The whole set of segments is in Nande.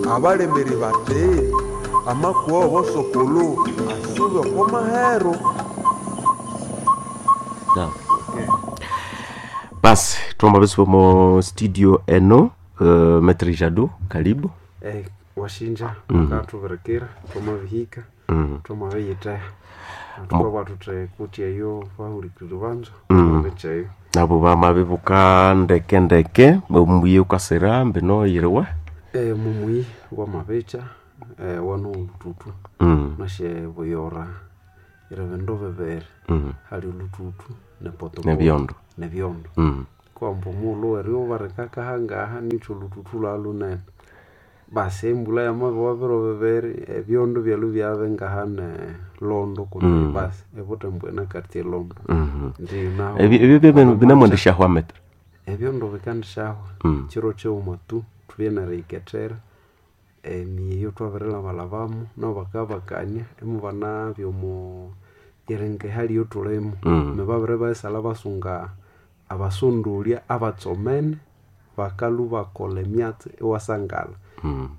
Abalemeri bati amakuwa w'obosokolo asuba oko mahero. Basi twamba besi mo studio eno, Maître Jado, karibu. Washinja mukathubirekera twamabihika, twamabiyithea thukabugha thuthi kuti eyo bahulikiriri banza bamabikyeyo. Nabo bamabibuka ndeke ndeke omuyi ukasira mbino yiriwe. Mumuyi wamabikya, wano oluthuthu nasi buyora yiri bindu bibiri, hali oluthuthu nepotopoto Nebyondo. Nebyondo. Kwamba omughulhu eryuba rikakahangaha nikyo oluthuthu lwabya lunene. Basi embulha yamabiwa biro bibiri ebyondo byalhwa ibyabya ngahane Londo kundi basi ebuthembu enakati elondo. Ndiyo nahu Ebyo binamwendeshahwa Maître. Ebyondo bikandishahwa kiro kighuma tu thubye neriyikethera emiyi thwabirilhabalhabamu nabo bakabakania imubanabya omo eringa ehali eyathulimu. Babiribayisalha basunga abasondolya abatsomene bakalhwa bakolha emyatsi iwasangala.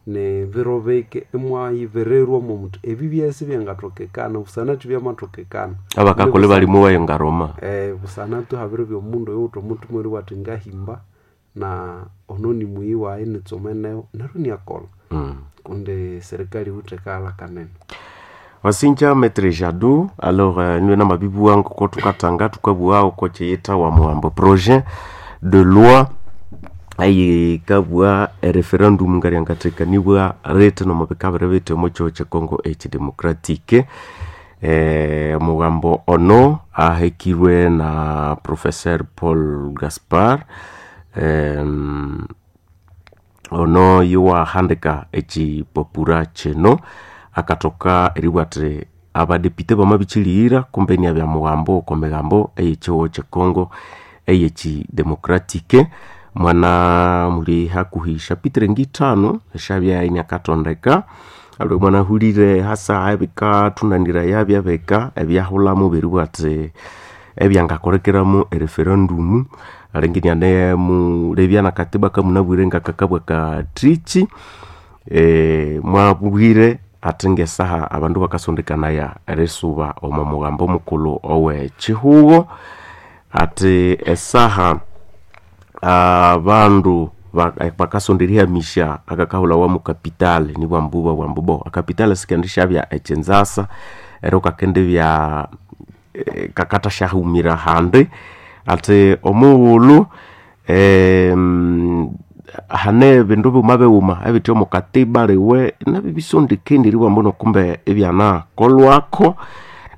Nibiro bike imwayibirirwa mwomuthi ebi byasi byangathokekana busana kibyamatokekana. Abakakolha balimu wayo ngaroma. Busana tu habiribya omundu oyuwithe omuthima eribugha athi ngahimba na ono nimuyi wayi nitsomeneho neryo inyakolha kundi serikali yiwithe ekaghalha kanene. Wasinja Maître Jado, alors niwe namabibugha ngoko thukatanga thukabugha oko kyiyithawa muhambo projet de loi eyikabugha ereferendum ngaryangathekanibwa rithi nomo bikabiri bithi omo kyihugho kye Congo ekidemocratic. Omugambo ono ahekirwe na Professeur Paul Gaspar, ono yowahandika ekipapura kino akathoka eribugha athi abadepite bamabikyilighira kumbe inabya mughambo oko migambo eyekyihugho kye Congo eyekidemocratic. Mwana muli hakuhi chapitre ngithanu esyabya iniakathondeka aliwe mwanahulire hasa ebikathunaniraya byabika ebyahulhamu beribugha athi ebyangakolekeramu ereferendum alinga inianemulebya nakatiba kamunabwire ngakakabwa kathiki, mwabwire athi ngesaha abandu bakasondekanaya erisuba omo mughambo mukulhu owekyihugho athi esaha abandu bakasonda erihamisya akakahulhawa mu capital nibwambu babugha ambu acapital sikendisyabya ekyinzasa neryo kakendibya kakathasyahumira ahandi athi omughulhu hane ebindu bighuma bighuma ebithe omo katiba liwe nabyo ibisondekene eribugha ambu kumbe ibyanakolhwako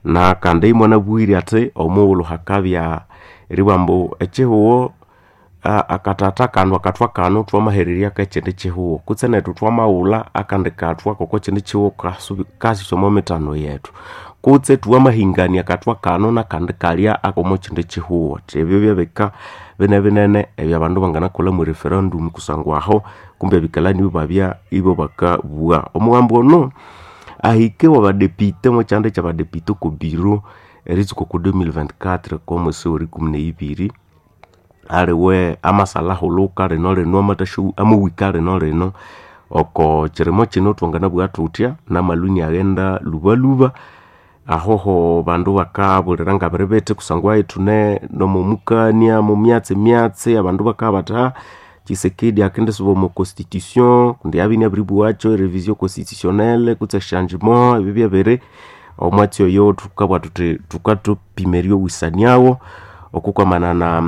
nakandi imwanabwire athi omughulhu hakabya eribugha ambu ekyihugho akathatha kano akathwa kano thwamahererya kekyindi kyihugho kutse nethu thwamaghulha akandi kathwa koko kyindi kyihugho kasisa omo mithano yethu kutse thwamahingania akathwa kano nakandi kalya akomo kyindi kyihugho ebyo byabika binebinene ebyabandu banganakolha mwe referendum kusangwa aho kumbe ebikalani ibabya ibabakabugha. Omugambo ono ahike wabadepite omwakyanda kyabadepite oko biro eritsuka oko 2024 kwomwesi werikumi neyibiri aliwe amasalhahulhuka lino lino amawika lino lino oko kyirimo kino thwanganabugha thuthya namalhwa iniaghenda lhubalhuba ahoho bandu bakabulira ngabiri bithi kusangwa ithune nomomukania mumyatsi myatsi abandu bakabugha bathi Tshisekedi akendisuba omo constitution kundi abya inabiribughacho erevision constitutionnelle kutse echangement ebyo byabiri omwatsi oyo thukabugha thuthi thukathupima eryowisaniawo okukwamanana na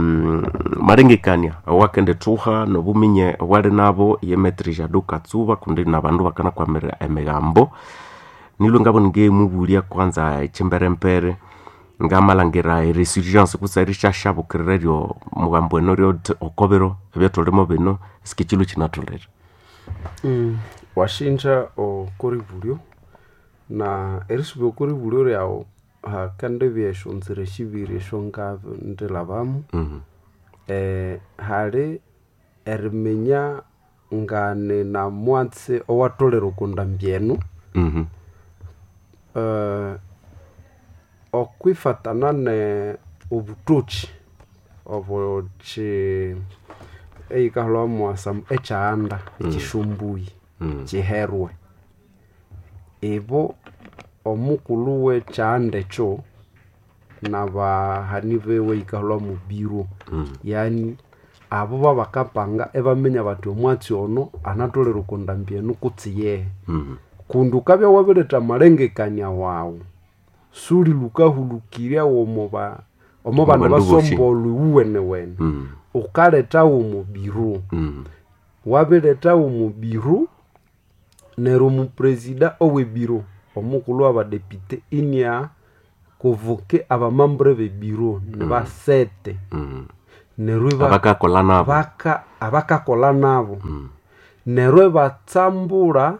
malengekania awakendithuha nobuminye obwali nabo ye Maître Jado Katsuba kundi nabandu bakanakwamira emigambo. Nilwe ngabona ingemubulya kwanza ekyimberembere ngamalhangira eresurgence kutse erisyashabukirira eryo mugambo eno ryothi okobiro ebyathulimo bino sikikyilwe kyinatholere. Washinja okoribulyo na erisuba okoribulyo ryawu hakendibya esyonzira sibiri esyongandilhabamu. Hali eriminya ngani namwatsi owatholere okondambi enu, okwifatana ne obutokyi obukyi eyikahulhawa mwa ekyahanda ekyisomboyi. Kiherwe ibo omukulhu w'ekyanda ekyo n'abahani biwe yikalhwa mu biro, yani abo babakapanga ibaminya bathi omwatsi ono anatholere oko ndambi eno kutse yehe. Kundi wukabya wabiretha amalengekania wawu, sulilukahulukirya omo ba omo bandu Omu bandu bosi. basombolwa iwuwenewene. Wukalethawo omo biro, wabirethawo omo biro, neryo omupresida ow'ebiro, omukulhu w'abadepite inia convoque abamembre b'ebiro nibasete. Neryo Abakakolha nabo. Abakakolha nabo. Neryo ibatsambura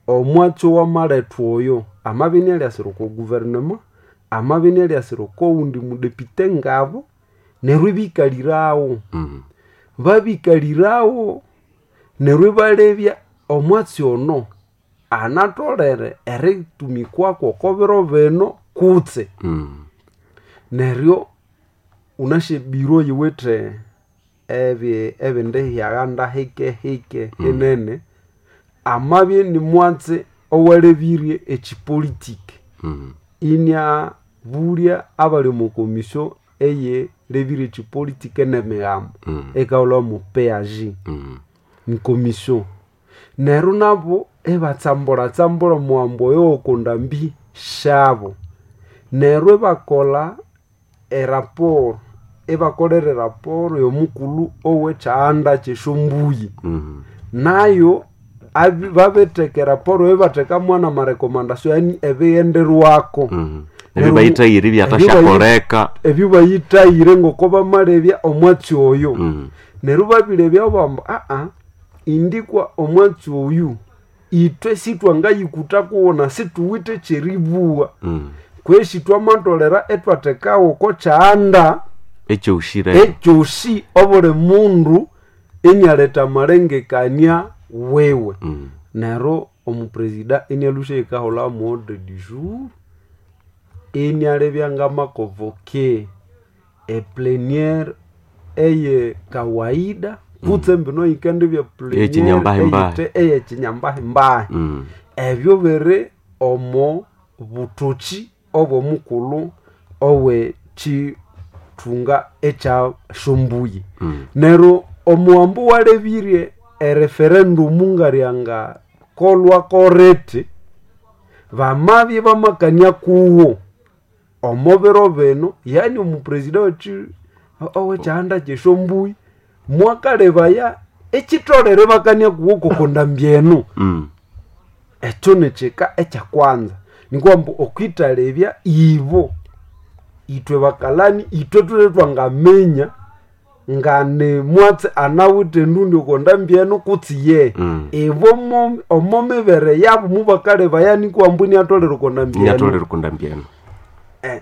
omwatsi owamalethwa oyo, amabya inialyasira oko guvernema, amabya inialyasira oko wundi mudepite ngabo, neryo ibikalirawo. Babikalirawo neryo ibalebya omwatsi ono anatholere eritumikwako oko biro bino kutse. Neryo wunasi ebiro yiwithe ebindi hyaghanda hike hike hinene, amabya inimwatsi owalebirye ekyipolitiki, iniabulya abali omo commission eyilebirye ekyipolitiki n'emigambo, eyikahulhawa mu PAG, ni commission. Neryo nabo ibatsambulatsambula omuwambo oyo oko ndambi syabo. Neryo ibakolha eraporo, ibakolera eraporo y'omukulhu ow'ekyanda ky'esyombuyi. Nayo babitheka eraporo eyo ibathekamu n'amarecomendation yani ebighenderwako. Ebyo bayithayire ibyathasyakoleka. Ebyo bayithayire ngoko bamalebya omwatsi oyo. Neryo babilebya bamba indikwa omwatsi oyu ithwe sithwangayikutha kuwuna sithuwithe ekyeribugha. Kwesi twamatholera ithwathekawo oko kyanda Ekyoshire. ekyosi obuli mundu inialetha amalengekania wiwe. Neryo omupresida inialhusya yikahulha mu ordre du jour, inialebya ngamaconvoque eplenière eye kawaida kutse mbino yikendibya plenière Eyekinyambahimbahi. eyekinyambahimbahi. Ebyo biri omo buthoki obw'omukulhu ow'ekyithunga ekya syombuyi. Neryo omuwambo walebirye ereferendum ngalyanga kolhwa koreti, bamabya ibamakania kuwo omo biro bino, yani omupresida ow'ekyihanda ky'esyombuyi mwakalebaya ekyitholere ibakania kuwo koko ndambi eno. Ekyo nikyika ekyakwanza, nikwa ambu okwithalebya ibo ithwe bakalani ithwe thulhe thwangaminya ngani mwatsi anawithe endundi oko ndambi eno kutse yehe. Ibo omo mibere yabo mubakalebaya nikwa ambu iniatholere oko ndambi eno. Iniatholere oko ndambi eno.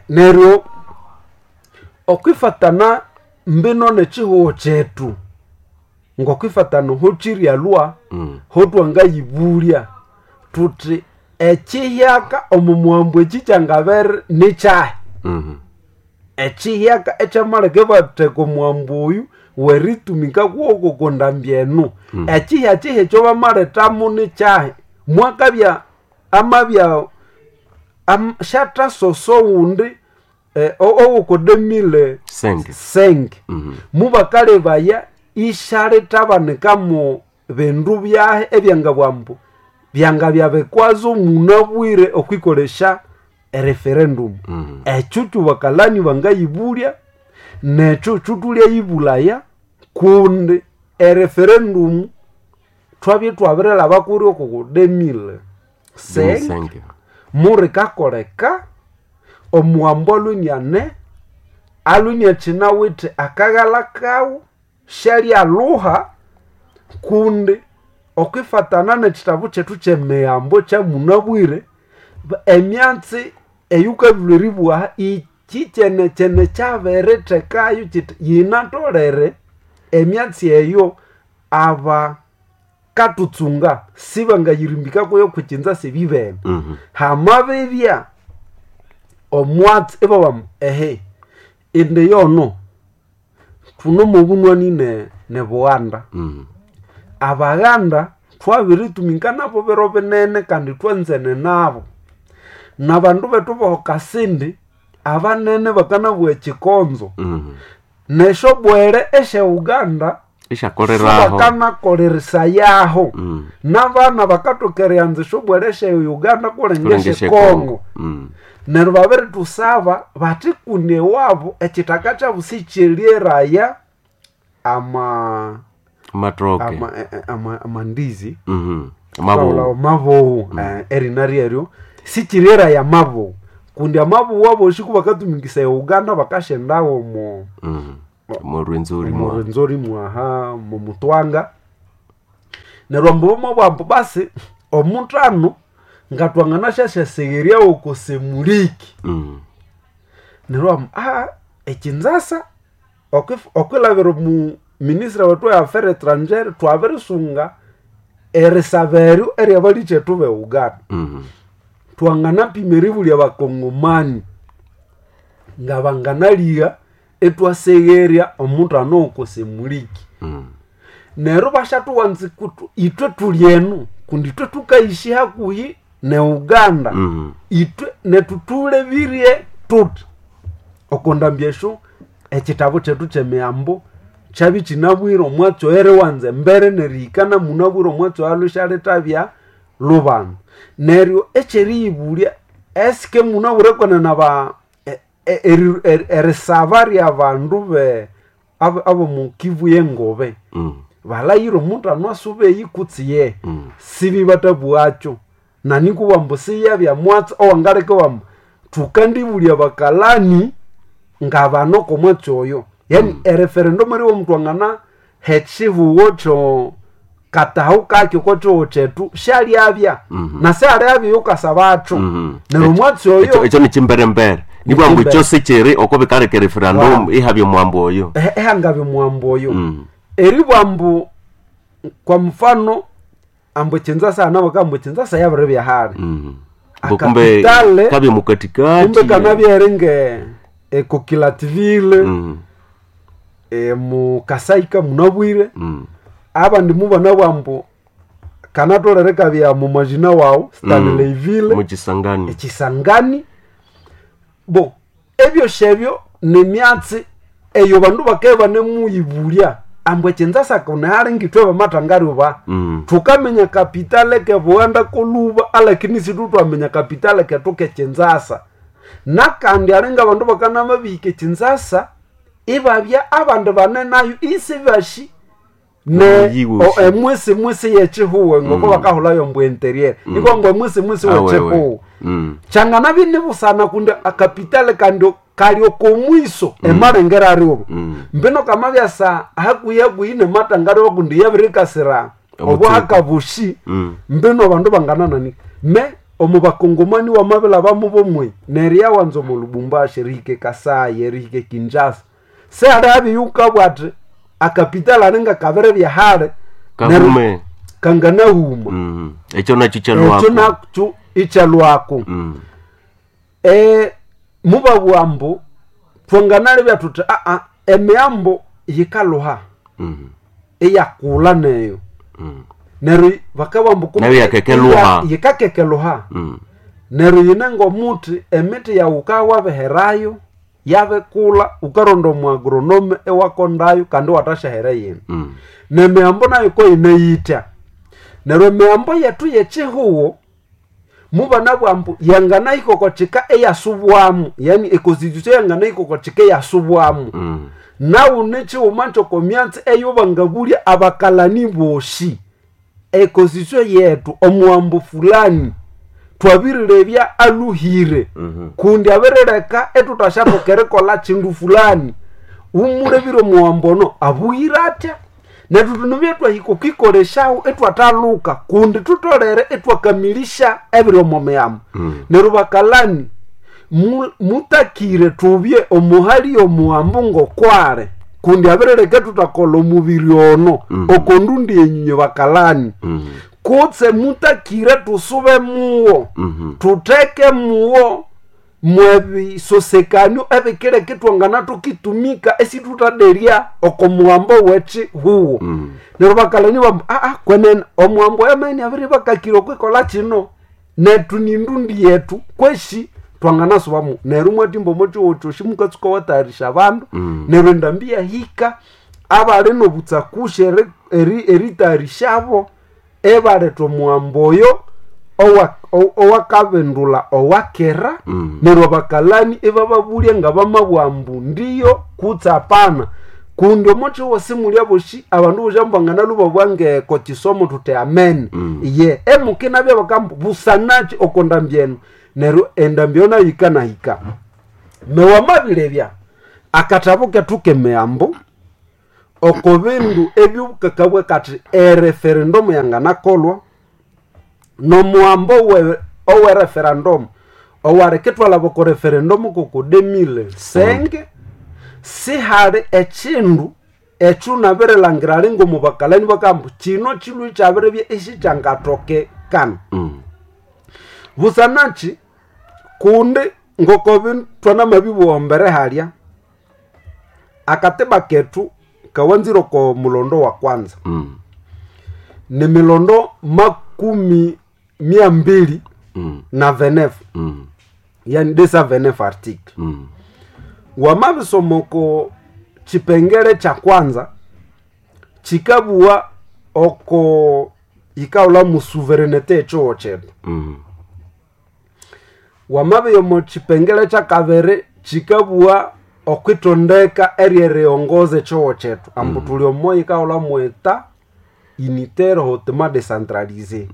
Neryo okwifatana mbino n'ekihugho kyethu, ngokwifatana hokiryalhwa, hotwangayibulya thuthi ekihyaka omo muhambo eki kyangabere nikyahi? Ekihyaka ekyamaleka ibatheka omuhambo oyu weritumika kuwoko oko ndambi eno. Ekihya-kihya ekyobamalethamu nikyahi? Mwakabya amabya syathasosa owundi owoko 2005 mubakalebaya isyalithabanikamu bindu byahi ebyangabugha ambu byangabya bikwazo munabwire okwikolesya ereferendum. Ekyo kyobakalani bangayibulya nekyo kyuthulyayibulaya kundi ereferendum thwabya ithwabirilhaba kuri oko 2005 murikakoleka omuhambo alwe iniane, alwe iniakyinawithe akaghalha kawu, syalyaluha kundi okwifatana n'ekitabu kyethu ky'emihambo kyamunabwire, emyatsi eyukabilhwa eribugha iki kyene-kyene kyabirithekayo kyithi yinatholere emyatsi eyo abakatutsunga sibangayirimbika kuyo kwikyinza sibibene. Hamabibya omwatsi ibabugha ehe indi yono thunomo obunywani ne Bughanda. Abaghanda Twabiritumika nabo biro binene kandi twanzene nabo. Nabandu bethu boho Kasindi abanene bakanabugha ekikonzo. Neshobwere eshe Uganda Ishakoleraho. Sibakanakoleresayaho. Nabana bakatoka erianza eshobwere eshe Uganda kulenga Kulenga eshe eshe Kongo. Kongo. Neryo babiritusaba bathi kundi ewabo ekithaka kyabu sikyeryaeraya ama Matoke. ama amandizi Mabowu. mabowu erina ryeryo sikyiryaeraya mabowu kundi amabowu abosi kubakatumikisa e Uganda bakashendawo omo Morwenzori mwa. Morwenzori mwaha mumutwanga. Neryo ambu bamabugha ambu basi omuthano ngatwanganasyasyasegheryawo oko Semuliki. Neryo ambu ekinzasa okwilabira omu minister wethu wa affaires étrangères twabirisunga erisaba eryo eryabalikyetu be Uganda. Twanganapima eribulya abakongomani ngabanganaliha etwasegherya omuthano oko Semuliki. Neryo bashathuwanza kutu ithwe thuli enu kundi ithwe thukayishi hakuhi ne Uganda. Ithwe nethu thulebirye thuthi okondambi esyo ekitabu kyethu kyemiyambo kyabya ikinabwire omwatsi oyo eriwanza embere nerihika namunabwire omwatsi oyo alhusyalethabya lubanza. Neryo ekyeriyibulya esike munabwire kwenene aba erisaba ryabandu be abomu Kivu yengobe balayire omuthano asubeyi kutsi ye sibibatabwakyo nanikubwa ambu siyabya mwatsi owangaleka wambu thukandibulya bakalani ngabano komwatsi oyo yani ereferendum eriwo omundu angana hekihugho kyo katahu kakyo kokyihugho kyethu syalyabya na syalyabya yukasabakyo. Neryo omwatsi oyo Ekyo ekyo nikimberembere. Nibwa mbu Nikimbere. ekyo sikyiri oko bikaleka referendum Wow. ihabya omwambu oyo. Ehangabya omwambu oyo. Eribwa ambu kwa mfano ambu ekinzasa hana bakamba ekinzasa yabiribya hali. Mbu kumbe Akapitale kabya mukatikati. kumbe kanabya eri nge ecoquilatville mu Kasaika munabwire. Abandi mubanabwa ambu kanatolere kabya mu majina wawu Stanleyville Mukisangani. Ekisangani bo ebyosi ebyo nemyatsi eyo bandu bakabya banemuyibulya ambu ekinzasa kunehali ngithwe bamathangariba. Thukaminya kapitale kebughanda koluba alakini situthwaminya kapitale kethu kekinzasa. Nakandi alinga abandu bakanamabihika ekinzasa ibabya abandi banenayo isibashi ne Omuyi wosi. emwisi mwisi yekihugho ngoko bakahulhayo ambu interior ikwa ngo emwisi mwisi Awewe. wekihugho kyanganabya inibusana kundi akapitale kandi kali okomwiso emalengera ariobo. Mbino kamabyasa hakuhi hakuhi nematangariwa kundi yabirikasira Omutseko. obuhakabushi. Mbino abandu bangananani me omu bakongomani wamabilhabamu bomwe neryo yawanza omu Lubumbashi erihika Kasai erihika Kinshasa sehali yukabwa ati akapitale alinga kabiribya hali neryo Kahume. kanganahuma. Ekyo nakyo Ekyo kyalwako. nakyo ikyalwako. Mubabugha ambu thwanganalebya thuthi emiyambo yikalhuha iyakulha neyo. Neryo bakabugha ambu kumbe Nayo yakakeluha. Yikakekeluha. Neryo yine ngomuthi emiti yawu wukawabiherayo yabikulha wukaronda omu agronome iwakondayo kandi iwathasyahera eyindi. Nemiyambo nayo koyine yitya. Neryo emiyambo yethu yekyihugho mubanabugha ambu yanganahika oko kika eyasubwamu yani econstitution yanganahika oko kika eyasubwamu. Nawu nikighuma kyoko myatsi eyobangabulya abakalani bosi econstitution yethu omuwambo fulani twabirilebya alhuhire kundi abirileka ithuthashathoka erikolha kindu fulani wumulebire omuwambo ono abughire atya nethu thunabya twahika okwikolesyawo ithwathalhuka kundi thutholere ithwakamilisya ebiri omo miyambo. Neryo bakalani mutakire thubye omuhali yomuwambo ngokwali kundi abirileka thuthakolha omubiri ono okondundi enyunyu bakalani kutse mutakire thusube muwo. Thutheke muwo. Mwebisosekanio ebikileka twangana tukitumika esitutaderya oko muhambo wekihuwo. Neryo bakalani bambu aa kwenene omuhambo wamene abiri bakakira okwikola kino, netu nindundi yetu kweshi twanganasubamu. Neryo mwatimba omo kyowo kyosi mukatsuka watayarisha abandu. Neryo endambi yahika abali nobutsakushi eritayarishabo ebaletha omuhambo oyo owakabindula owakera. Neryo abakalani ibababulya nga bamabugha ambu ndiyo kutse apana, kundi omo simulya bosi abandu bosi ambu babugha ngeko kisomo thuthi amene. Ye emukinabya bakambu busanaki oko ndambi eno. Neryo endambi eyo nayo yikanahika. Newamabilebya akatabu kethu kemihambo oko bindu ebyobukakabwa kathi ereferendomu yanganakolwa nomuhambo owe referendomu owalikithwalaba oko referendomu koko 2005, sihali ekindu ekyo nabirilangira ali ngomubakalani bakamba kino kilwe kyabiribya isikyangatokekana. Busanaki kundi ngoko thwanamabibugha mbere halya, akatiba kethu kawanzire oko mulondo wa kwanza. Ni milondo makumi mia mbili na venefu, yani desa venefu article. Wamabisoma oko kipengele kya kwanza kikabugha oko yikaghulha mu souverainete y'ekihugo kyethu. Wamabya omo kipengele kyakabiri kikabugha okwitondeka eryeriyongoza ekihugo kyethu, ambu thuli omo yikaghulha mu eta unitaire hautement décentralisé.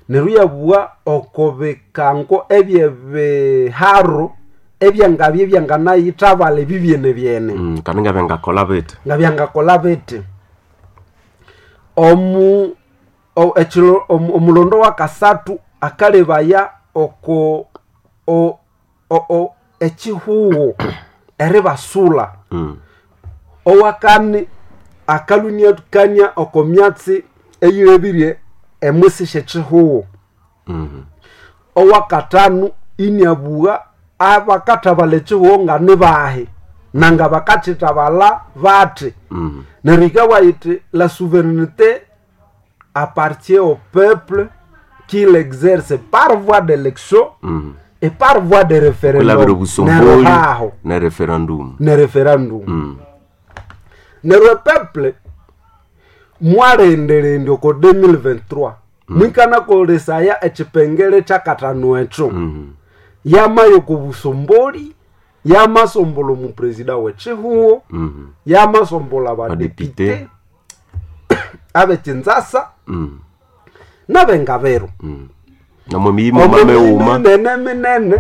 Neryo iyabugha oko bikango ebyebiharo ebyangabya ebyanganayithabala ebibyenebyene. Kandi ngabyangakolha bithi? Ngabyangakolha bithi. Omu omulondo wakasathu akalebaya oko ekihugo eribasula. Owakani akaluniakania oko myatsi eyilebirye emwisi syekihugo. Owakathanu iniabugha abakathabalha ekihugo nganibahi nanga bakakithabalha bathi. Neryo yikabugha yithi la souveraineté appartient au peuple qui l'exerce par voie d'élection et par voie de Kwilabira référendum. Neryo obusomboli haho ne referendum. Ne referendum. Neryo epeuple mwalendelendya oko 2023 mwikanakolesaya ekipengele kyakathanu ekyo. Yamaya oko busomboli, yamasombola omupresida w'ekihugo, yamasombola abadepite Badepite. abekinzasa n'abengabiro. Namwe miyimo mameghuma. Minene minene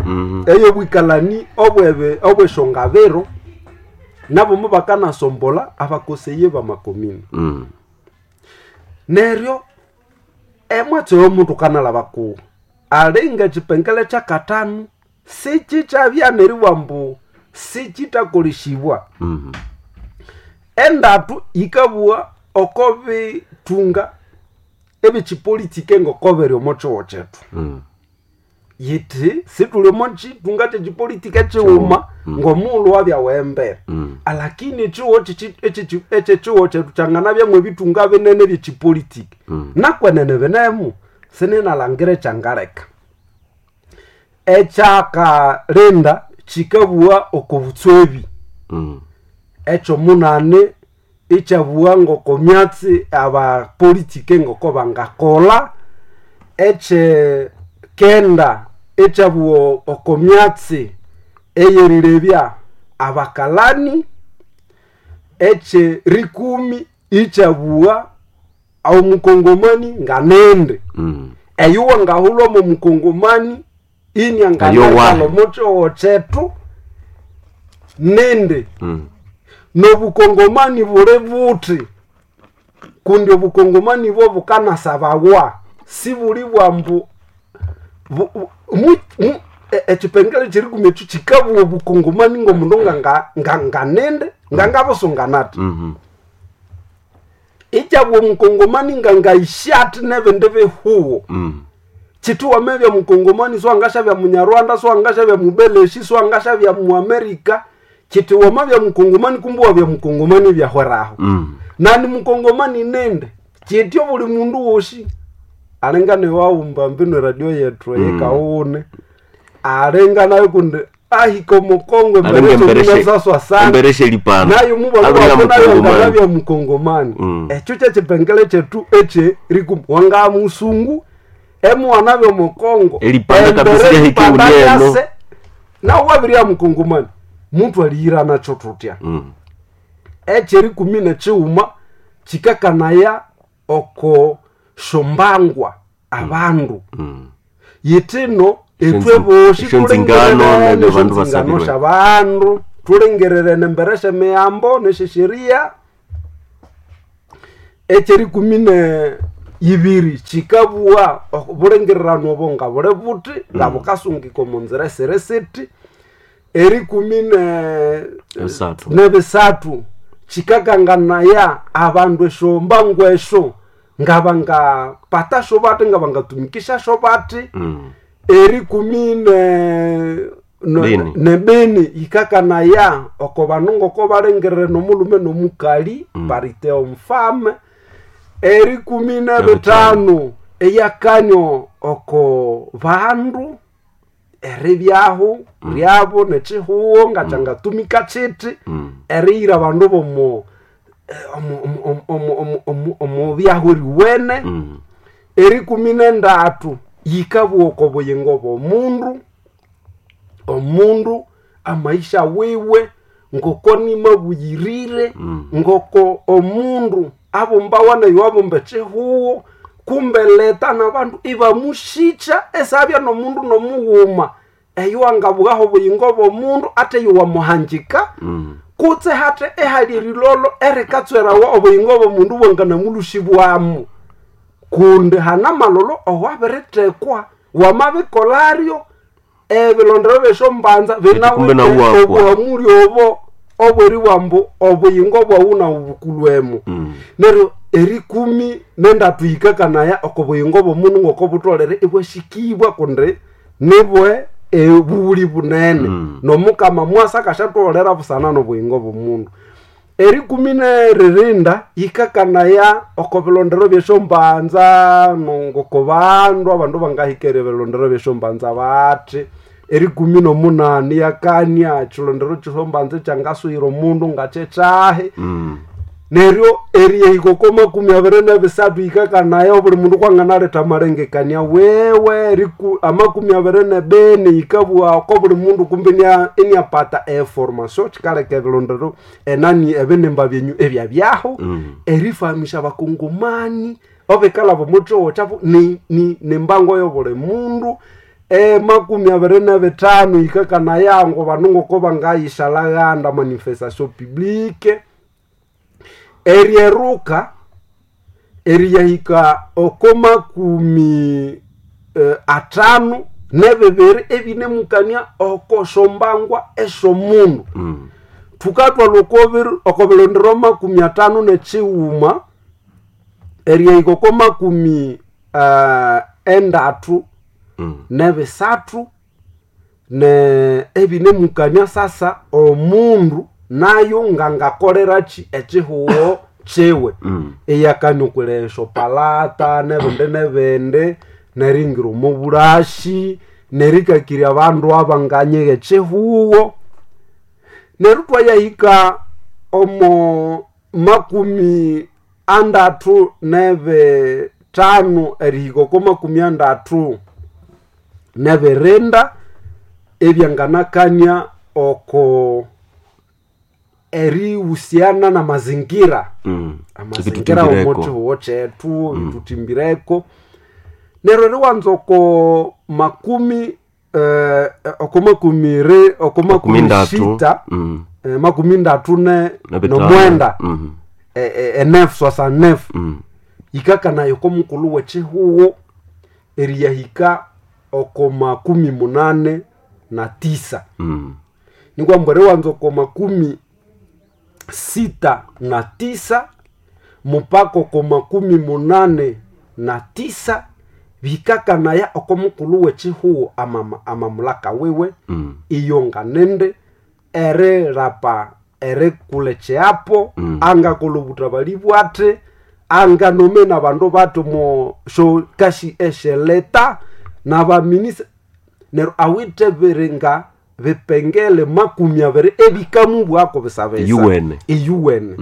ey'obwikalani obweshongabiro nabo mubakanasombola abakoseye bamakomini. Neryo emwatsi oyo kanalaba kuwo alinga ekipengele kyakathanu sikikyabya neribwa ambu sikitakolesibwa. Endatu yikabugha oko bithunga ebyekipolitike ngoko biri omo kihugo kyethu. Yithi sithuli omo kithunga kyekipolitike kighuma ng'omughulhu wabya wembere, alakini ekihugo ekyekihugo kyethu kyanganabyamu ebithunga binene ebyekipolitiki. Nakwenene binemu sininalhangira ekyangaleka. Ekyakalinda kikabugha oko butswebi. Ekyomunani ikyabugha ngoko myatsi abapolitike ngoko bangakolha. Ekyekenda ikyabugha oko myatsi eyerilebya abakalani. Ekyerikumi ikyabugha omukongomani nganende. Eyo wangahulha omo mukongomani inianganaikalha omo kihugho kyethu nindi. Nobukongomani buli buthi kundi obukongomani bwo bukanasabawa sibuli bwambu ekipengele kyerikumi ekyo kikabugha obukongomani ng'omundu nganende ngangabusunganathi. Ikyabugha omukongomani ngangayisyathi n'ebindi bihugo. Chiti wamevya mukongomani swangashavya munyarwanda, swangashavya mubeleshi, swangashavya muamerika. Chiti wamavya mukongomani kumbe wavya mukongomani vyahweraho. Nani mukongomani nende chityo buli mundu woshi alingane waumba mbino radio yetu yekaune alinganayo kundi ahika omukongo emberesaswa sana embereshe lipano nayo Abria mubalanayo mukongomani. ngabya mukongomani. Ekyo kyekipengele kyethu ekye rikum wanga musungu emwana byomukongo Elipanda kabisa lyahika ulieno. nawe wabirya mukongomani muntu aliyira nakyo tutya. Ekyerikumi nekighuma kikakanaya oko shombangwa abandu yitino etwe boshi Esyo nzingano tulengererene ne bandu esyo nzingano basabirwe. syabandu tulengererene embere syemiyambo nesyesheria. Ekyerikumi ne ibiri kikabugha obulengererano obo nga buli buthi nga bukasungika omu nzira esiri siti. Erikumi ne Ebisathu. nebisathu kikakanganaya abandu esyombangwa esyo nga bangapata syo bathi, nga bangatumikisha syo bathi. Erikumi Bini. nebini yikakanaya oko bandu ngoko balengerere nomulume nomukali, parite omfame. Erikumi nebitano eyakanyo oko bandu eribyahu ryabo nekihuho ngakyangatumika kiti eriyira abandu bomo omu byahu eriwene. Erikumi nendatu yikabugha oko buyingo bw'omundu, omundu amaisha wiwe ngoko nimabuyirire, ngoko omundu abumbawa nayo abumba ekihuho kumbe leta nabandu ibamushikya esabya nomundu nomughuma eyo angabughaho obuyingo bw'omundu ate yowamuhangika kutse hate ehali erilolo erikatswerawa obuyingo bw'omundu bwanganamulushibwamu kundi hana malolo owabiritekwa wamabikolaryo ebilondero byesyo mbanza kumbe nawu binawithe wakwa. obwamuli obo obweri bwambu obuyingo bwawu nawu bukulwemo. Neryo erikumi nendatu yikakanaya oko buyingo bw'omundu ngoko butolere ibwashikibwa kundi nibwe ebuli bunene nomukama mwasa akashatolera busana nobuyingo bw'omundu. Erikumi neririnda yikakanaya oko bilondero byesyo mbanza nongoko bandu abandu bangahikere ebilondero byesyo mbanza bathi. Erikumi nomunani yakania ekilondero kyesyo mbanza ekyangasuyira omundu ngakyekyahi. Neryo eriyahika oko 23 yikakanaya obuli mundu kwanganaletha amalengekania wewe. 24 yikabugha oko buli mundu kumbe iniapata eformation kikaleka ebilondero enani ebinimba byenyu ebyabyaho erifahamisha abakongomani obikalaba omukihugho kyabu nembango yobuli mundu. 25 yikakanaya ngo bandu ngoko bangayishalhaghanda manifestation publique. Eryeruka eriyahika oko 52 ebinemukania oko syombangwa esyomundu. Thukathwalha oko bilondero 51 eriyahika oko 33 ne ebinemukania sasa omundu nayo ngangakoleraki ekihuho kyiwe eyakania okulesha palata nebindi nebindi neringira omo bulashi nerikakirya abandu abanganyigha ekihuho. Neryo twayahika omo 35 erihika oko 34 ebyanganakania oko erihusiana na mazingira, amazingira Ebitutimbireko. omukihuho kyethu ebitutimbireko. Neryo eriwanza oko makumi oko makumi oko makumi 30. sita, 39 Nebitano. nomwenda, enef 69 yikakanayo oko mukulhu w'ekihuho eriyahika oko 89. Nikwamba eriwanza oko 69 mupaka oko 89. Bikakanaya oko mukulhu w'ekihugo amamulaka wiwe iyo nganende erilapa erikula ekyiapo angakolha obutabali bwate anganomena abandu bathi omo syokashi esyeleta n'abaminista neryo awithe biringa bipengele 20 ebikamubwako bisabisa Iyuwene. Iyuwene.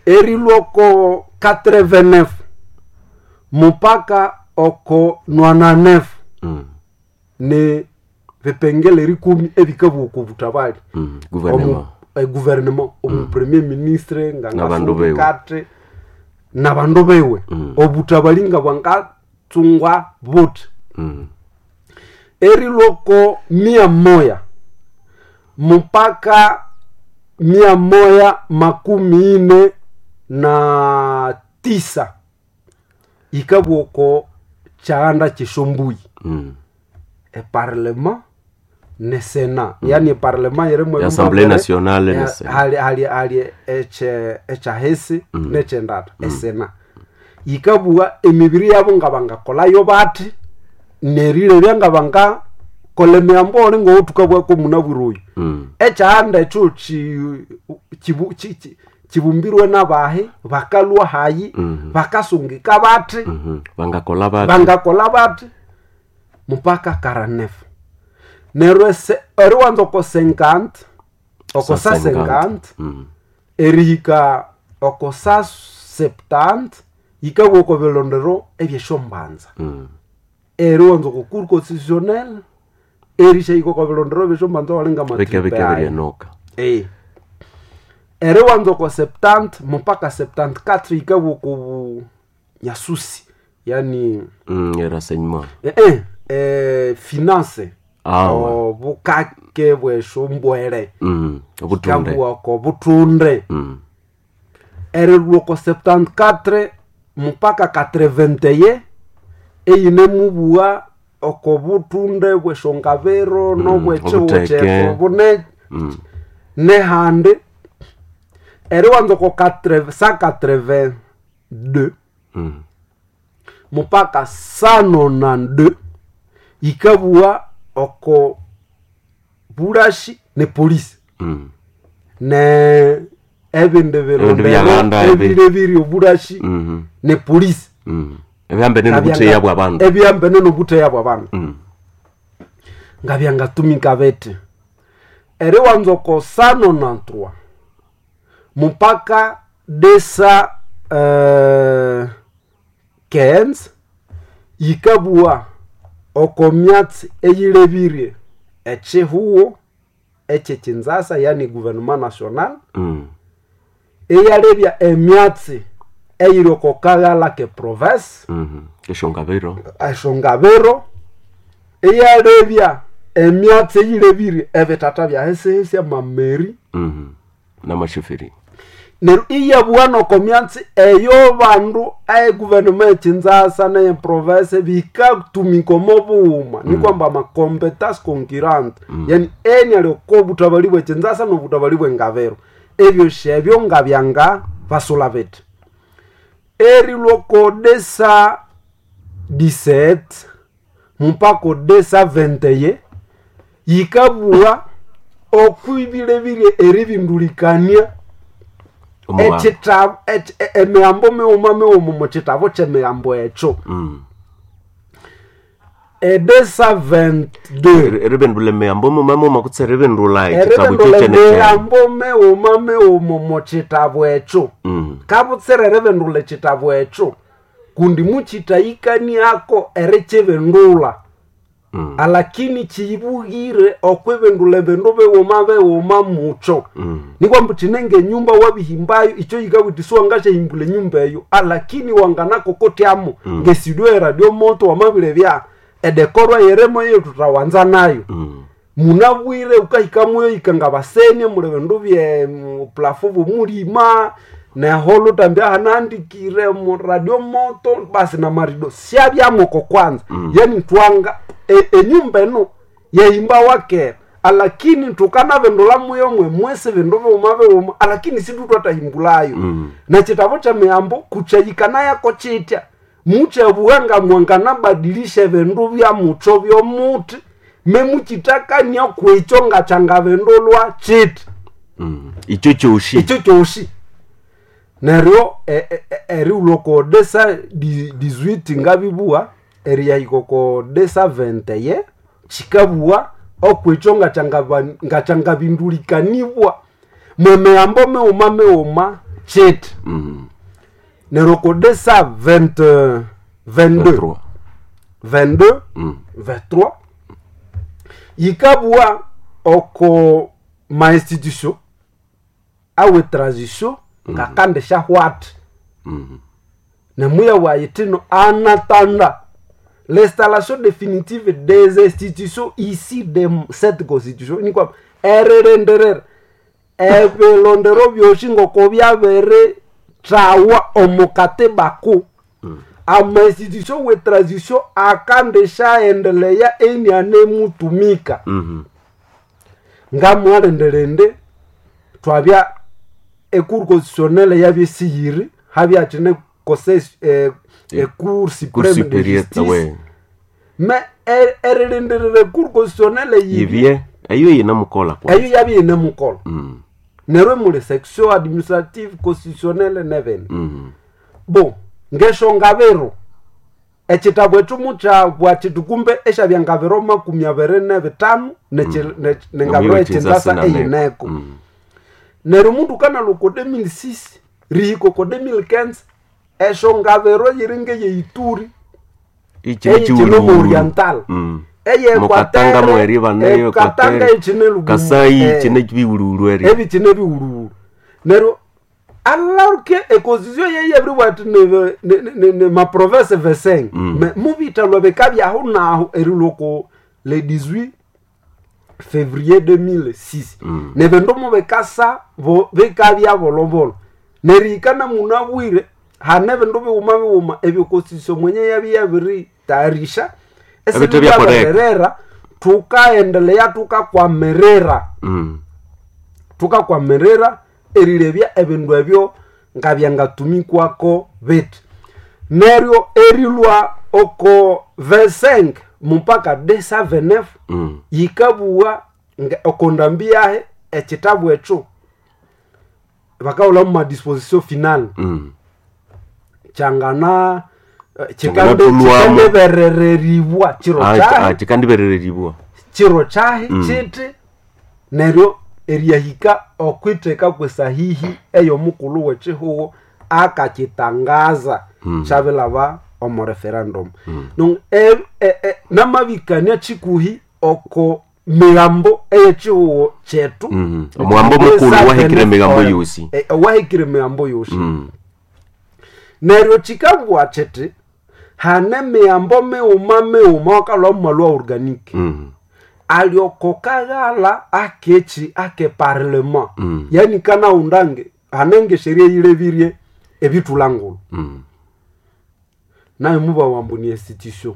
Erilwa oko 89 mupaka oko 99 ni vipengele rikumi ebikabwa oko butabali. Gouvernement. Gouvernement omu premier ministre N'abandu bewe. ngangakate n'abandu bewe obutabali nga bwangatsungwa buthi. Erilwa oko 100 mupaka 149 ikabwa oko kyahanda kyesyombui. Eparlement ne sena yani eparlement yirimu Assemblée nationale ne Sénat. hali hali hali eche ekyahisi nekyendata esena yikabugha emibiri yabo nga bangakolayo bathi nerilebya nga bangakola emiyambo oli ngowuthukabwako munabwire oyu. Ekyahanda ekyo kibumbirwe n'abahi bakalwa hayi bakasungika bathi Bangakola bathi bangakola bathi mupaka 49 neryo eriwanza oko 50 oko sa 50 erihika oko sa 70 yikabwa oko bilondero ebyesyombanza. Eriwanza oko cour constitutionnelle erishahika oko bilondero ebyesyombanza walinga bike bike biryenoka. Eriwanza oko 70 mupaka 74 yikabwa oko bunyasusi yani Renseignement. Finance. Ah, ouais. Obukake bwesyombwere. Obutunde. Kabwa oko butunde. Erilwa oko 74 mupaka 81 eyine mubugha oko butunde bwesyongabiro nobwekihugo obuteke. kyethu bune nehandi eriwanza oko 182 mupaka 192 yikabugha oko bulashi ne polisi ne ebindi Ebindu byalanda ebi. ebile biri obulashi ne polisi. Ebihambene nobutheya bwa bandu. Ebihambene nobutheya bwa bandu nga byangatumika bete eriwanza oko 193 mupaka desa 15 yikabugha oko myatsi eyilebirye ekihugo ekyekinzasa yani gouvernement national eyalebya emyatsi eyiri oko kaghala ke province Esyongabiro. Eshongabiro eyalebya emyatsi eyilebirye ebitata byahesihesi amameri Namashifiri. Neryo iyabugha noko myatsi eyo bandu eguvernema ekinzasa neyeprovince bikatumika omo bughuma nikwamba amacompetence concurrente yani eni ali oko obutabali bwekinzasa nobutabali bwengabiro ebyosi ebyo nga byanga basula bithi erilwa oko desa 17 mupaka desa 21 yikabugha okwibilebirye eribindulikania Omubango. ekitabu emirambo mighuma mighuma omu kitabu ky'emirambo ekyo edesa 22. Eribindula emiyambo muma muma kutse eribindula ekitabu Eribindula kyo kyene. emirambo mighuma mighuma omu kitabu ekyo kabutsira eribindula ekitabu ekyo kundi mukitahikaniako erikibindula alakini kiyibughire okwibindula ebindu bighuma bighuma mukyo nikwamba kinenge enyumba wabihimbayo ikyo yikawiti siwangasyahimbula enyumba eyo alakini wanganakokotyamo ngesidio eradio moto wamabirebya edekorwa yeremo eyo tutawanza nayo munabwire ukahikamuyo ikanga basenie muli bindu bye plafo bumulima neholo tambya hanandikire mu radio moto basi na marido syabyamoko kwanza yani twanga enyumba eno yehimba wakera alakini tukanavindula muyo mwe mwesi vindu viuma viuma alakini situtwatahimbulayo na chitavo cha miambo kuchayikanayako chitya. Mukyabugha nga mwanganabadilisha ebindu bya mutho byomuthi, memukitakania kwekyo ngakyangabindulwa kiti. Ikyo kyosi. Ekyo kyosi. Neryo erighulha oko desa 18 ngabibugha, eriyahika oko desa 20 kikabugha okwekyo ngakyangabindulikanibwa mwemiyambo mighuma mighuma kiti. Neryo oko desa 20 22 23. 22 23 yikabugha oko ma institution awe transition ngakandi syahwata. Nemuya wayitino anatanda l'installation définitive des institutions ici de cette constitution nikwa eririndirira ebilondero byosi ngoko byabiri thawa omu katiba ku ama institution we transition akandi syaendeleya enianemutumika. Ngamwalindirindi twabya ecour constitutionnelle yabyesiyiri habyakine conseil ecour Cour supreme de supérieure justice we. me erilindirira ecour constitutionnelle yibye Yibye eyo yinamukola kwa. eyo yabye yinemukola. Neryo muli section administrative constitutionnelle nevene. Bo ngeshongabiro ekitabu ekyo mukyabwa kiti kumbe esyabya ngabiro 25 nengabiro ekyindasa eyineko. Neryo omundu kanalwa oko 2006 rihika oko 2015 eshongabiro yiri ngeyeituri eyikine omu oriental, Mukatanga mweri baneyo eyekatanga Equateur, ekine Kasai kine biwululu eri. Ebikine biwuluwulu. Neryo alaruke econstitution yeye ebiribwa ati ne maprovince 25 me mubitalwa bikabyaho naho erilwa oko le 18 février 2006. Nebindu mubikasa bikabya bolobolo. Nerihika namunabwire hane ebindu bighuma bighuma ebyo constitution mwenye yabya yabiritayarisha Ebintu ebyakoleka. esibyabererera tukaendelea tukakwamirira tukakwamirira erilebya ebindu ebyo ngabyangatumikwako bithi. Neryo erilwa oko 25 mupaka 229 yikabugha oko ndambi yahe ekitabu ekyo bakahulha mu madisposition final kyangana Kyanganatulwamu. kikandiberereribwa kiro kyahe. Kikandiberereribwa. Kiro kyahe kiti neryo eriyahika okwitheka kwesahihi ey'omukulhu w'ekihugo akakitangaza kyabilaba omu referendum. Namabikania kikuhi oko migambo ey'ekihugo kyethu. Omugambo mukulu wahikire emigambo yosi. Wahikire emigambo yosi. Neryo kikabugha kiti hane miyambo mighuma mighuma wakalhwa mumalwa organic alyoko kaghala akechi ake parlement. Yani kanaundange hanenge sheria yilebirie ebithulangulu nayo mubawambu ni institution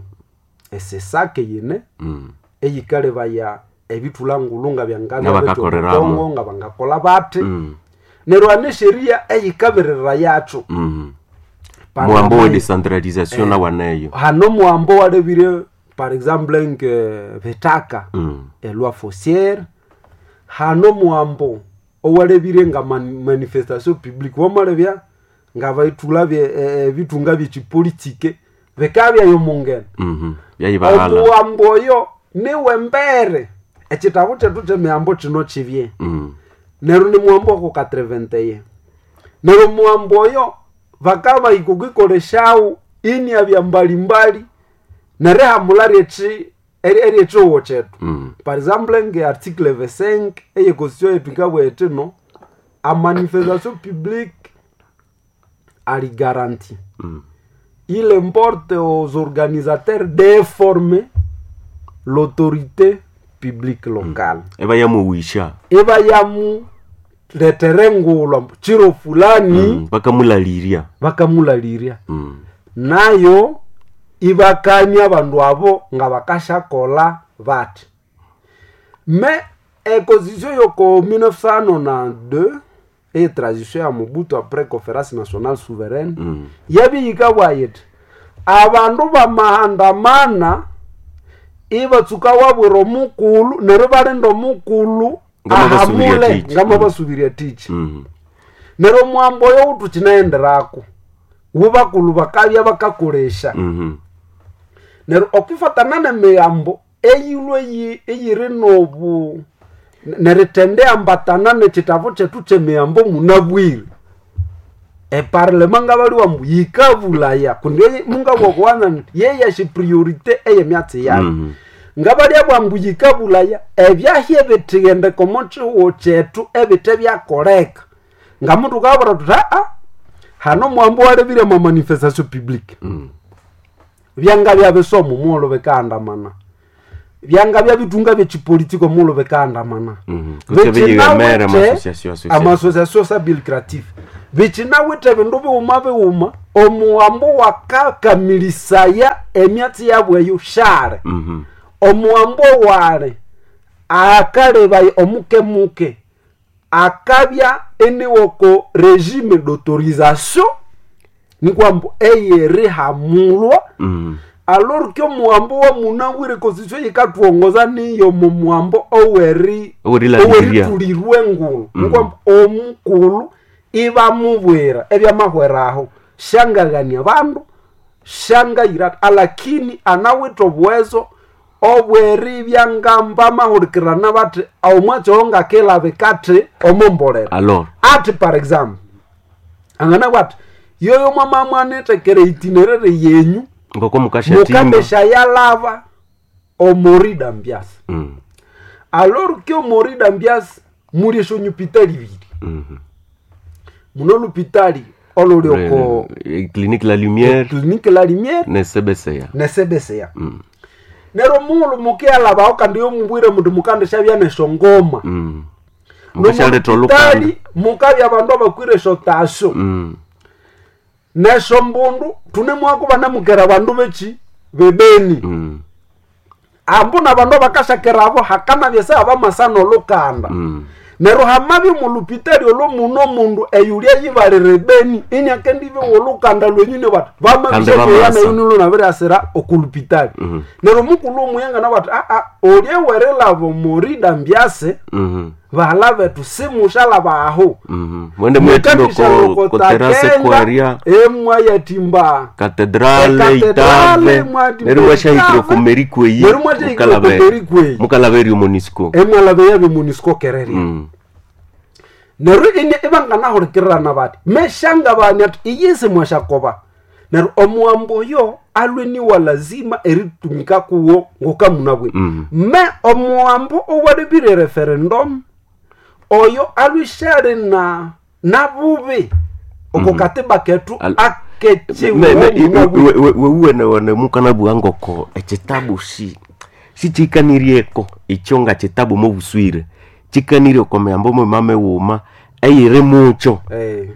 esesake yine eyikalebaya ebithulangulu nga Ngabakakoreramo. byangakongo nga bangakola bathi. Neryo hane sheria eyikabirira yakyo. Muambo we decentralisation nawaneyo. Hano muambo walebire par exemple nke betaka eloi foncière hano muambo owalebire nga manifestation publique wamalebya nga baithula ebitunga byekipolitike bikabyayo mungene. Byayibahala. Omuwambo oyo niwe mbere ekitabu kyethu kyemiambo kino kibye. Neryo ni muwambo wako 81. Neryo muwambo oyo bakabahika okwikolesyawo inyabya mbalimbali nerihamula eryekihugo kyethu. Par exemple nge article 25 eye constitution yetu ikabugha iti no a manifestation publique ali garantie. Il importe aux organisateurs d'informer l'autorité publique locale. Eba yamuwisha. Eba yamuletere ngulwa mbu chiro fulani. Bakamulalirya. Bakamulalirya. Nayo ibakania abandu abo nga bakashakola bati me econstitution yoko 1992 eye transition ya Mobutu après conférence nationale souveraine yabiyika bwayiti. Abandu bamahandamana ibatsuka wabwira omukulu neryo balinda omukulu Ngamabasubiria ahamule tichi. ngamabasubiria tichi. Neryo omwambo oyo wutukinayenderako wubakulu bakabya bakakolesha. Neryo okwifatana nemigambo eyilwe eyiri nobu nerithendeambatana nekitabu kyethu kyemigambo munabwire, eparlema ngabaliwa mbu yikabulaya kundi mungabwakuwana nti yeyashe priorite eyemyatsi yayo. Ngabalya bwambu yikabulaya ebyahya ebithigendeka omo kihugho kyethu ebithe byakoleka, ngamundu kabwira thuthi aa hano mwambo walebire mwa manifestation publique. Byanga byabisomo mughulhu bikaandamana, byanga byabitunga byekipolitiko mughulhu bikaandamana. Kutse biyighemere ama-association, association. Amasosiasio sabil creatif bikinawithe bindu bighuma bighuma omuwambo wakakamilisaya emyatsi yabu eyo shale. Omuwambo wale akalebaya omukemuke akabya eniwoko regime d'autorisation nikwambu eyerihamulwa. Alors que omuwambo wa munabwire constitution yikatwongoza niyo mumuwambo oweri Owerilangirya. oweritulirwe engulu, nikwambu omukulu ibamubwira ebyamahweraho shangaghania bandu shangayira, alakini anawithe obuwezo obweribya ngamba mahulikirana bathi omwatsi oyo ngakilabika athi omombolera. Alors Ati par example anganabwa ati yoyo mwamamwanethekere itinerere yenyu ngoko mukashatimba. mukandesha yalava omorida mbiasi. Alors que omorida mbiasi muli eshonyupitali ibiri. Muno lupitali oluli oko Clinique la Lumière Clinique la Lumière nesebeseya. Nesebeseya. Neryo mughulhu mukiyalavaho kandi yomumbwire mundi mukandesha bya neshongoma. Mukashaletha olukanda. Nomulupitali mukabya abandu abakwire esyotasyo nesyombundu tunemwaku banamukera abandu beki bebeni. Ambu nabandu abakashakera abo hakanabya seabamasana olukanda. Neryo hamabya omulupitali olwo muno omundu eyulya yibalira ebeni iniakendibe olukanda lwenyine bati Kandi bamasa. vamabisheeyanayunilunabiriasira okulupitali. Neryo omukulu omuyangana bati aa olye werilaba omorida mbyase. Bahala bethu simushalaba aho. Mwende mwetimba ko terase kwaria emwayatimba katedrale Ekatedrale, itave mwatimba neryo mwashahikire Itave. okomerikweyi. Neryo mwashahikire okomerikweyi. Mukalaba eri omonisco. Emwalaba yabe munisco kereria. Neryo ine ibanganahulikirana bati meshangabani ati iyisi mwashakoba neryo omuwambo oyo alwe niwa lazima eritumika kuwo ngokamunabwine. Me omuwambo owalebire referendum oyo alwishali na nabubi oko katiba ketu akechiwo. Wewuwenewene mukanabugha ngoko ekitabu si sikikanirieko ekyo nga kitabu mobuswire kikanirie oko miyambo mwima mighuma eyiri mukyo.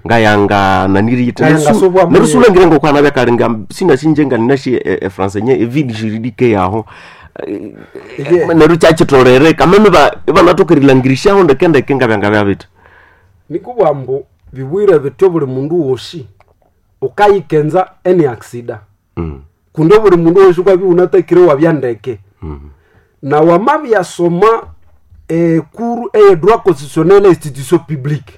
Ngayanga naniriyite Ngayanga subwa neryo sulangire ngoko anabya sinasinje nga ninashi efransa nye evide juridique yaho. Neryo kyakitolere kameme ibanatoka erilangirisyaho ndeke ndeke ngabyanga byabita. Nikubwa mbu bibwire bityo buli mundu wosi ukayikenza eni aksida. Kundi buli mundu wosi ukabya unatakire wabya ndeke. Na wamabyasoma ekuru eye droit constitutionnel e institution publique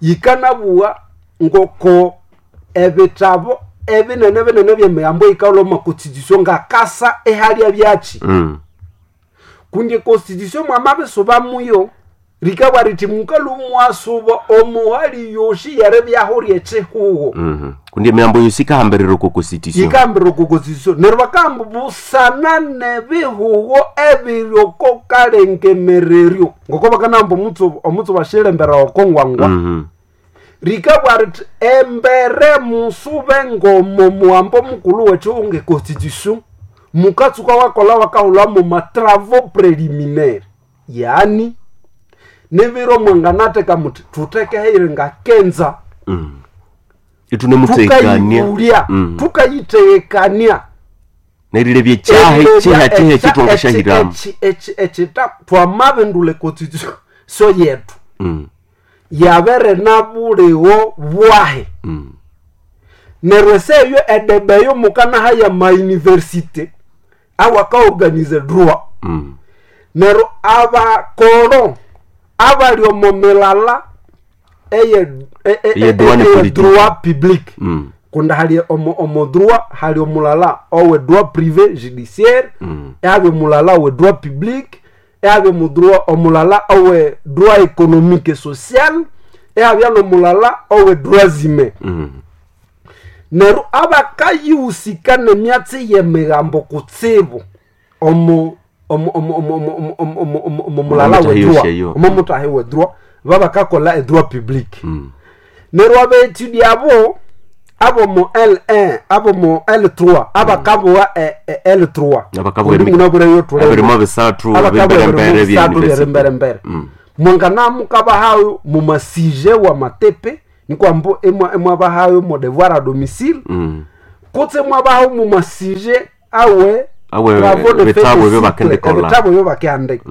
yikanabuwa ngoko ebitabo ebinene binene byemiyambo yikalwa omu constitution ngakasa ehalya byaki. Kundi constitution mwamabisuba muyo rikabwa riti mukalu mwasuba omuhali yoshi yeribyaho ryekihuho. Kundi emiyambo yosi ikahambirira oko constitution. Yikahambirira oko constitution neryo bakahamba busana nebihuho ebiri oko kalengemereryo ngoko bakanahamba omutsu bashilembera oko ngwangwa. Rikabwa riti embere musube ngomo muhambo mukulu wekihunga econstitution mukatsuka wakola wakahulha mu matravaux préliminaire, yaani nibiro mwanganatheka muthi thuthekeheire ngakenza. Itunemutekania. Tukayibulya tukayitekania. Nerilebya ekyaha kyeha kyeha ekitwangashahiramu. Ekita twamabindula econstitution so yetu yabere nabuliwo bwahe. Neryo eseyo edebe eyo mukanaha ya mauniversite awakaorganize droit. Neryo abakoro abali omo milala eye Eye droit ne eye politique. droit public, kundi hali omo droit hali omulala owe droit privé judiciaire, ehabya omulala owe droit public, ehabya omudroit omulala owe droit économique et social, ehabya nomulala owe droit humain. Neryo abakayihusika nemyatsi yemigambo kutsibu omo omo omo omo omo omo omo omo omo omo mulala Omo we mutahi droit, yosheyo. omo mutahi we droit, babakakola edroit public. Neryo abaetudi abo abomo L1, abomo L3, abakabowa L3. Abakabowa Kundi munabureyo tulemo. Abirimo bisathu Abakabowa ebimberembere ebirimo bye bisathu university. byeremberembere. Mwanganamukabahayo mumasije wa matepe nikwambo emwabahayo mo devoir à domicile, kutse mwabahayo mumasije awe Awe, travaux de ebitabu fin de ebyo cycle, bakendikolha. ebitabu ebyo bakihandika.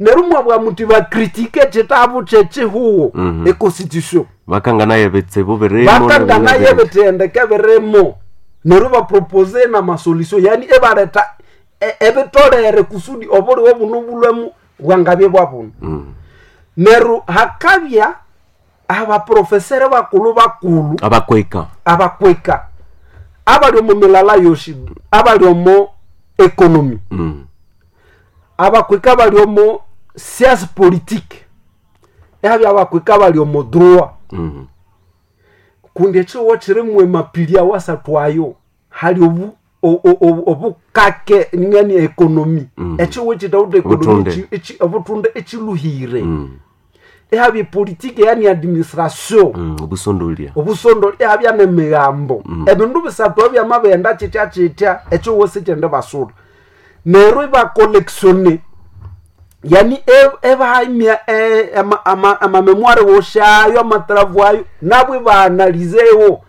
Neryo mwabwa muti bakritike ekitabu kyekihuwo, econstitution. Bakanganaye ebitsibu birimo. Bakanganaye ebithendeke birimo, neryo bapropose namasolution, yani ebaleta ebitolere kusudi obuliwe buno bulwemu bwangabye bwabuno. Neryo hakabya abaprofesere bakulu bakulu, Abakweka. Abakweka abali omu milala yoshi, abali omu economy, abakweka bali omu science politique, ehabya abakweka bali omu droit. Kundi ekiwo kirimu emapili awasathu ayo hali obu obukake ngani ekonomi, ekiwo kitawuta ekonomi. Obutunde. Obutunde ekiluhire, ehabya epolitike, yani administration. Obusondolia. Obusondo, ehabya nemigambo. Ebindu bisathu ebyamabenda kitya kitya ekiwo sikyende basula. Neryo ibakollectione, yani ebahamya amamemoire woshayo, amatravu ayo, nabo ibaanalizewo.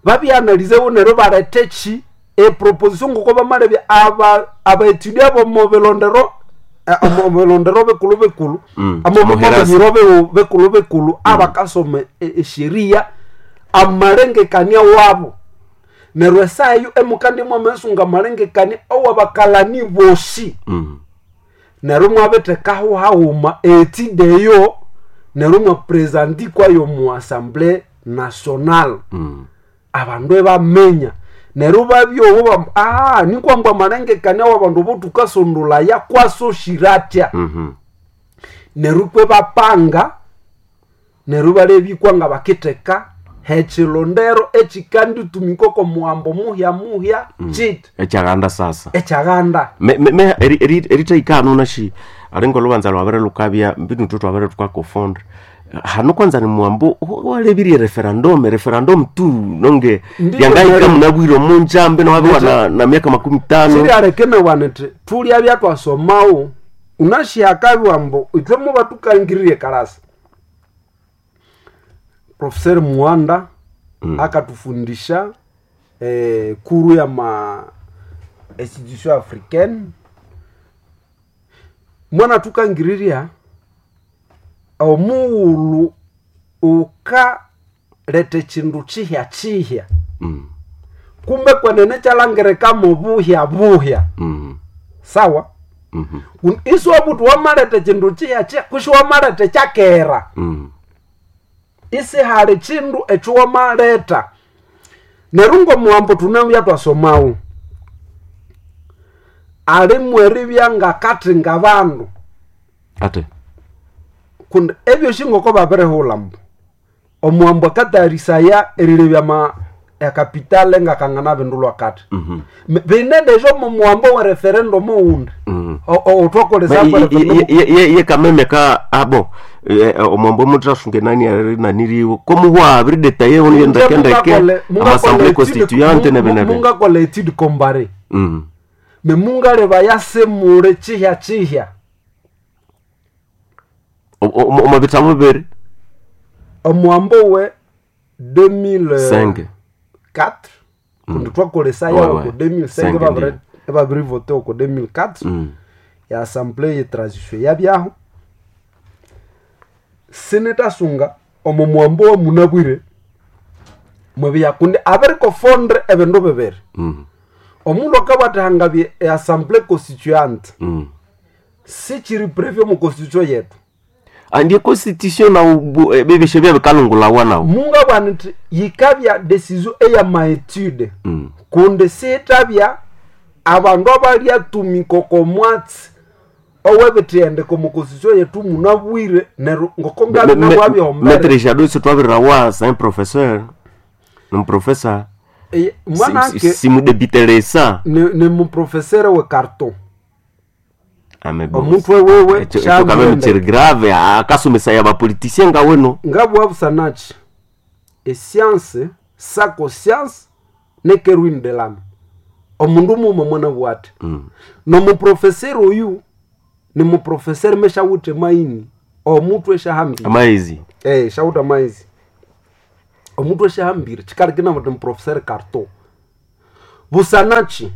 Babyanalizewo neryo barete ki eproposition ngoko bamalebya abaetudi abo mubilondero, omubilondero bikulu bikulu, Omuherasi. amomubiro bikulu bikulu, abakasoma esheria amalengekania wabo. Neryo esayo emukandi mwamesunga amalengekania owabakalani bosi. Neryo mwabithekaho haghuma etide eyo, neryo mwapresandikwayo mu assemblée nationale. Abandu ebamenya neryo babyowo nikwambwa amalengekania wabandu botukasondolaya kwasoshira Neryo kwe bapanga, neryo balebikwa nga bakitheka hekilondero ekikanditumika oko muhambo muhya muhya kiti Ekyaganda sasa. Ekyaganda. Me eritaikano nashi alinga olubanza lwabere lukabya mbinu tu twabere tukakufunda hano kwanza ni mwambo walebirie referendum, referendum tu nonge. Ndiyo, Yangaika nero. Munabwire omunjambe nowabiwa na miaka 50. Sirialekene ti tulya byatwasomawo unashihakabiwa mbo ithwe muba tukangiririe kalasa. Professor Muanda akatufundisha kuru ya ma institution africaine, mwana tukangiriria omughulhu ukaleta ekindu kihya kihya, kumbe kwenene kyalangirikamu buhya buhya. Sawa. Isiwabuti wamaleta ekindu kihya kihya kusi wamaleta ekyakera, isihali kindu ekyowamaleta. Neryo ngomuhambo tunabya twasomawo alimu eribya ngakathinga bandu. Ate. Kundi ebyosi ngoko babirihulha mbu omuhambo akatayarisaya erilebya ma ekapitale ngakangana bindulwa kati. Bine deja omu muhambo we referendum owundi otwakolesa. Ye kameme ka abo omwambo mutasunge nani arinaniriwo komuhwa biridetaye oniyendekendeke amassemblée constituante nebenebe. Mungakola etude comparée, me mungaleba yasemure kihya kihya. Omo bitabo bibiri. Omuhambo we 2004 5. Kundi twakolesa Ouais, yawo ouais. ku 2005. Cinq, ndiyo. Ebabirivote oko 2004 ya assemblée ye transition yabyaho. Sinitasunga omo muhambo wa munabwire. Mwebiya kundi abirikofondre ebindu bibiri. Omundu akabwathihangabye eassemblée constituante sichiri prévu omu constitution yetu. Andie constitution nawo bibishe byabikalungulawa nawo. Mungabwana nti yikabya decision eyamaetude kundi siithabya abandu abalyatumika oko mwatsi owebithendeko omu constitution yetu munabwire neryo ngoko ngabinabwabyombere. Maître Jado sitwabirirawa c'est un professeur, un professeur. Mwanake Simudebitelesa. Ni muprofesere we carton. Ame bon. Omutwe wewe Ekyo ekyo quand même kiri grave akasomesa ya bapoliticien nga weno. Ngabwabusanachi escience sako science nekerwin de lame omundu muma mwana bwate. Nomuprofesere oyu ni muprofesere meshawuthe maini omutwe eshahambire. Amaizi. Eh, shawutha maizi omutwe eshahambire chikalikina muti muprofesere carton busanachi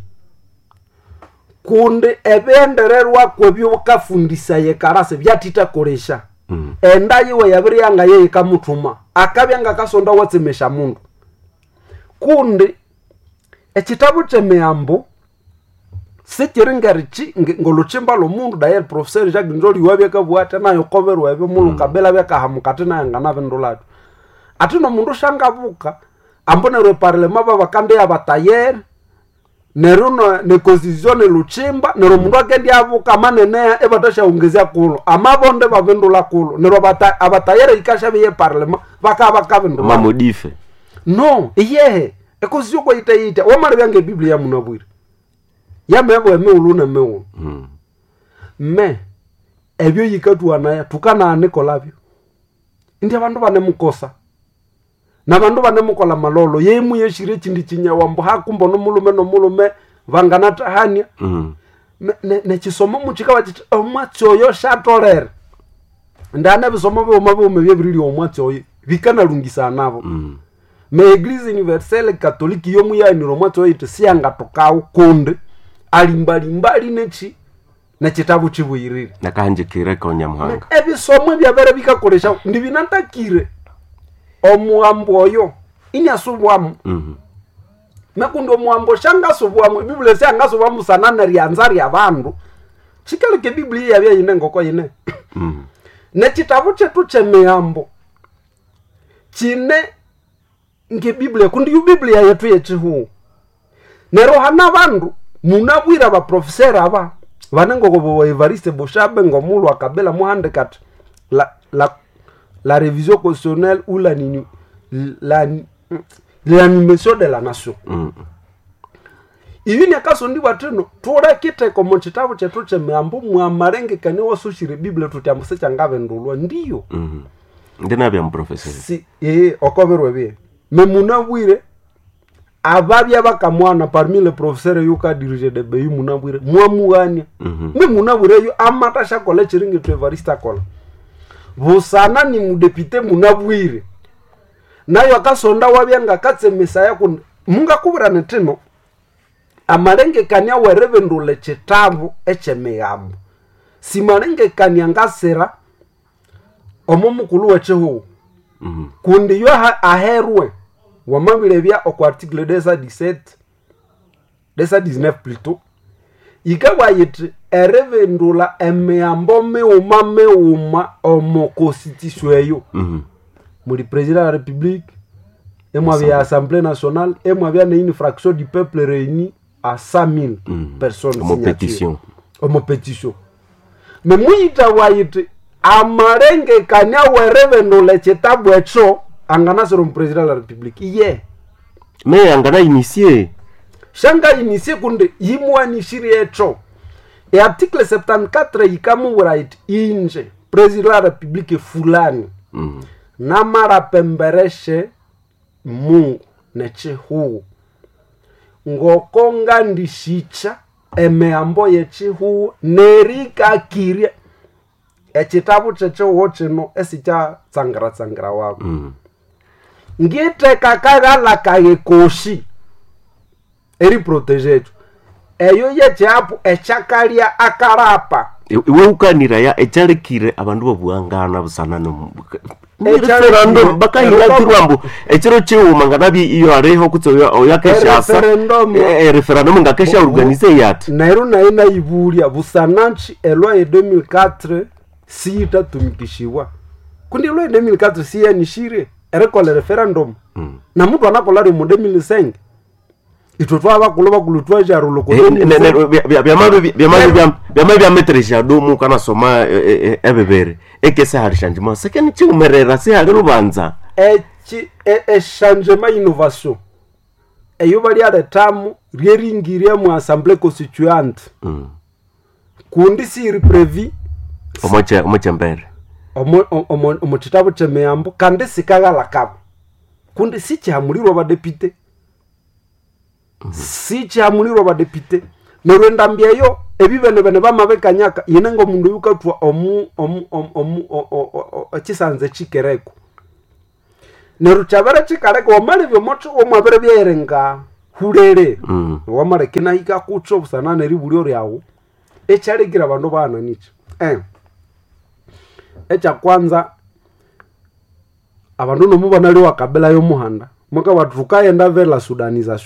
kundi ebyendererwako ebyokafundisa karase byatitakolesha. Enda yiwe yabiri yanga yeye kamuthuma akabya ngakasonda watsemesha mundu kundi ekitabu kyemiyambo sikiri ngerichi ngoluchimba lwomundu daye professeur Jacques Nzoli wabyakabugha ati nayo koberwa ebyo mulukabila byakahamuka ati nayo nganabindulabyo ati nomundu shangabuka ambo neryo eparlema babakandi yabatayere neryo neconstitution neluchimba neryo omundu akendiabuka amaneneya ebatashaongezya kulo amabonde babindula kulo neryo abatayere ikasha ye parlema bakaba bakabindula. Mamodife. No iyehe econstitution kwayitayita wamala byange ebiblia munabwire yamebwa emighulhu nemighulhu. Me ebyo yikatwanaya tukananikolabyo indi abandu banemukosa nabandu banemukola malolo yemu yeshire echindi chinyawambo hakumbo nomulume nomulume vanganatahania. Nechisomo muchikaba chiti omwatsi oyo shatolere ndana ebisomo bighuma bighuma ebyebiriri omwatsi oyo bikanalungisana nabo. Me eglise universelle catholique yomuyanire omwatsi oyo iti siyangatokawo kundi alimbalimbali nechi nechitabu chibuyirire. Nakahanjikire konyamuhanga. Ebisomo ebyabere bikakolesha ndibinatakire omuhambo oyo iniasubwamu. Mekundi omuhambo shangasubwamu ebiblia syangasubwamu sana neryanza ryabandu chikaleka ebiblia yabya yine ngoko yine. Nekitabu kyetu kyemihambo kine ngebiblia kundi yu biblia yetu yechihuhu neryo hana bandu munabwire abaprofesera aba vanengoko bo Evariste Boshabe ngomulhu akabela muhandika ati la révision constitutionnelle ou la nini, la l'animation de la nation. Ibi nyakasondiwa tino tulekiteko mu kitabu kyetu kyemihambo mwamalengekania wasushire biblia tuti ambu sikyangabindulwa ndiyo. Ndinabya muprofesere. Si okoberwa ebye memunabwire ababya bakamwana parmi le professeur yuka dirige de beyi munabwire mwamughania. Memunabwire yo amata shakola ekiringi tu Evariste akola busana ni mudepite munabwire nayo akasonda wabya ngakatsemesaya kundi mungakubwira nitino amalengekania weribindula ekitabu ekyemigambo simalengekania ngasira omo mukulu wekihugho. Kundi yo aherwe wamabilebya okwa article 217 219 plutôt yikabwa yiti eribindula emiyambo mighuma mighuma omo constitution eyo. Muli président de la république emwabya assemblée nationale emwabya ne une fraction du peuple réunie à 100 000 personnes Omo signature. pétition. Omo pétition me muyita yiti amalengekania weribindula ekitabu ekyo anganasira omupresident de la république iye. Me angana initie. Shanga initie kundi yimwanishire ekyo earticle 74 yikamuwira yiti inje president de la république fulani. Namara pembereshe Mungu nechihuhu ngoko ngandishicha emihambo yechihuhu nerikakirie ekitabu kyechihuhu kino esikyatsangiratsangira wabo. Ngitheka kaghala kaye koshi eriprotege ekyo eyo yekyapu ekyakalya akarapa. Iwe ukaniraya ekyalekire abandu babuhangana busana no Referendum bakahiratirwa mbu ekiro kiwuma nganabye iyo aliho kutse oyakeshasa Ereferendum. Referendum ngakesha organize yati. Neryo naye nayibulya busananchi elwa ye 2004 siyitatumikishiwa, kundi elwa ye 2004 siyanishire erikola referendum, na mutu anakola rimo 2005. Ithwe twabakulu bakulu twajarula ku 2005. Byama byameteresha domu kanasoma ebibere ekese hali shanjima sekeni chiumerera sihali lubanza. Eki echangement innovation eyo balyaletamu ryeringirya mu assemblée constituante, kundi siri previ omochembere. Omo kitabu kyemiyambo, kandi sikaghalakabo kundi sikihamulirwa abadepite, sikihamulirwa abadepite. Neryo endambi eyo ebibenebene bamabikanyaka yine ngomundu oyukathwa omu omu omu omu ekisanza ekikereko. Neryo kyabere kikaleka wamalebya omothi omwabere byerenga hulere, wamaleka inahika kutso busana neribulyo lyawu ekyalekire abandu baghana nikyi. Ekyakwanza abandu nomu banalyowa kabila yomuhanda mwakabati thukayenda vela sudanization.